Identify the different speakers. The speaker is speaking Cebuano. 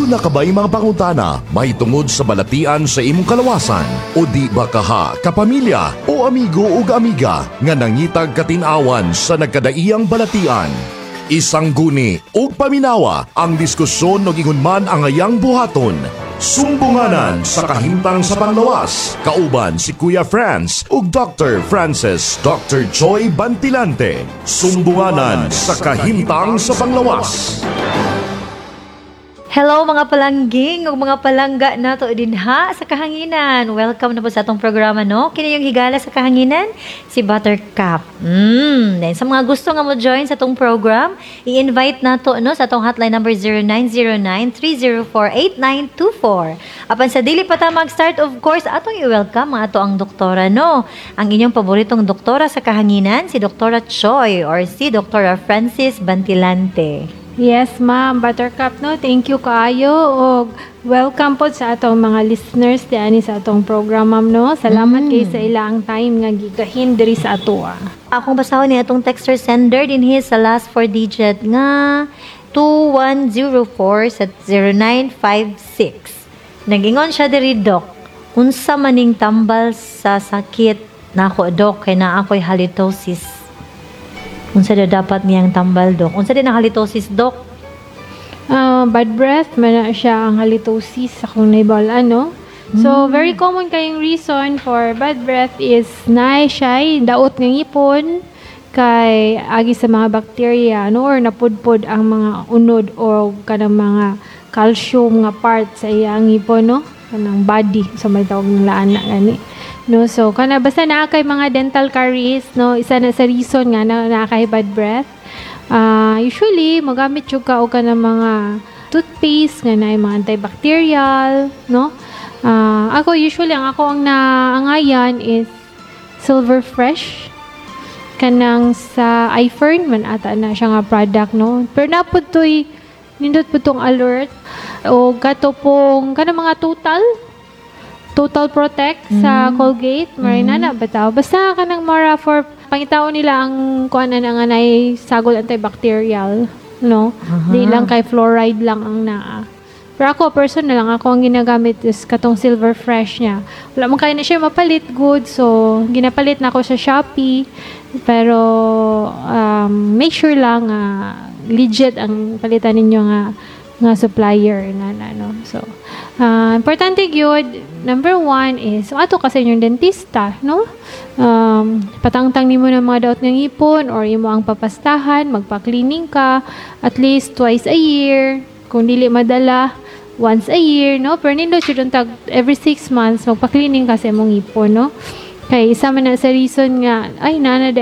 Speaker 1: Aduna ka ba'y mga pangutana mahitungod sa balatian sa imong kalawasan? O di ba kaha, kapamilya o amigo ug amiga nga nangitag katin-awan sa nagkadaiyang balatian? Isang guni ug paminawa ang diskusyon og ingon man ang ayang buhaton. Sumbunganan sa kahimtang sa panglawas. Kauban si Kuya Franz ug Dr. Francis Dr. Joy Bantilante. Sumbunganan sa kahimtang sa panglawas.
Speaker 2: Hello, mga palangging ug mga palangga nato dinha sa kahanginan. Welcome na po sa atong programa, no. Kini yung higala sa kahanginan, si Buttercup. Then sa mga gusto nga mo join sa atong program, i-invite nato, no, sa atong hotline number 0909-304-8924. Apan sa dili pa ta mag-start, of course, atong i-welcome ang ato ang doktora, no. Ang inyong paboritong doktora sa kahanginan, si Doktora Choi or si Doktora Francis Bantilante.
Speaker 3: Yes, ma'am. Buttercup, no? Thank you kaayo. Og welcome po sa atong mga listeners diani sa atong program, ma'am, no? Salamat kay sa ilang time nga gigahin diri sa atoa.
Speaker 2: Akong basahon ni atong texter sender dinhi sa last four digit nga 2104 sa 0956. Nagingon siya diri, "Dok, unsa maning tambal sa sakit nako, Dok, kay naa ako'y halitosis?" Unsa daw dapat niyang tambal, Dok? Unsa din ang halitosis, Dok?
Speaker 3: Ah, bad breath man na siya ang halitosis akong naibal-an, no? So, very common kayong reason for bad breath is naay siya daot nga ngipon kay agi sa mga bacteria, no, or napudpod ang mga unod o kanang mga calcium nga part sa iyang ngipon, no, kanang body sa may tawag ng laana gani, no? So kana basta naa kay mga dental caries, no, isa na sa reason nga na naa kay bad breath. Usually magamit jud ka og kanang mga toothpaste nga naay mga antibacterial, no? Ako usually ang ako ang naangayan is Silver Fresh kanang sa iFern man ata na siya nga product, no? Pero napud toy nindot pud tong alert o kato pong kanang mga Total Total Protect sa Colgate, marina na bitaw. Basta kanang mara for pangitaon nila ang kuan na nga naay sagol antibacterial, no? Di lang kay fluoride lang ang naa. Pero ako, personal lang, ako ang ginagamit is katong Silver Fresh niya. Wala man kayo na siya mapalit good, so ginapalit na ako sa Shopee. Pero make sure lang nga legit ang palitan ninyo nga nga supplier nga na, no. So, importante gyud, number one is, ato kasi inyong dentista, no? Patangtang nimo ng mga daot ng ngipon or imo ang papastahan, magpa-cleaning ka at least twice a year. Kung dili madala, once a year, no? Pero nindot jud tag every 6 months magpa-cleaning ka sa imong ngipon, no? Kay isa man na sa reason nga, ay, nana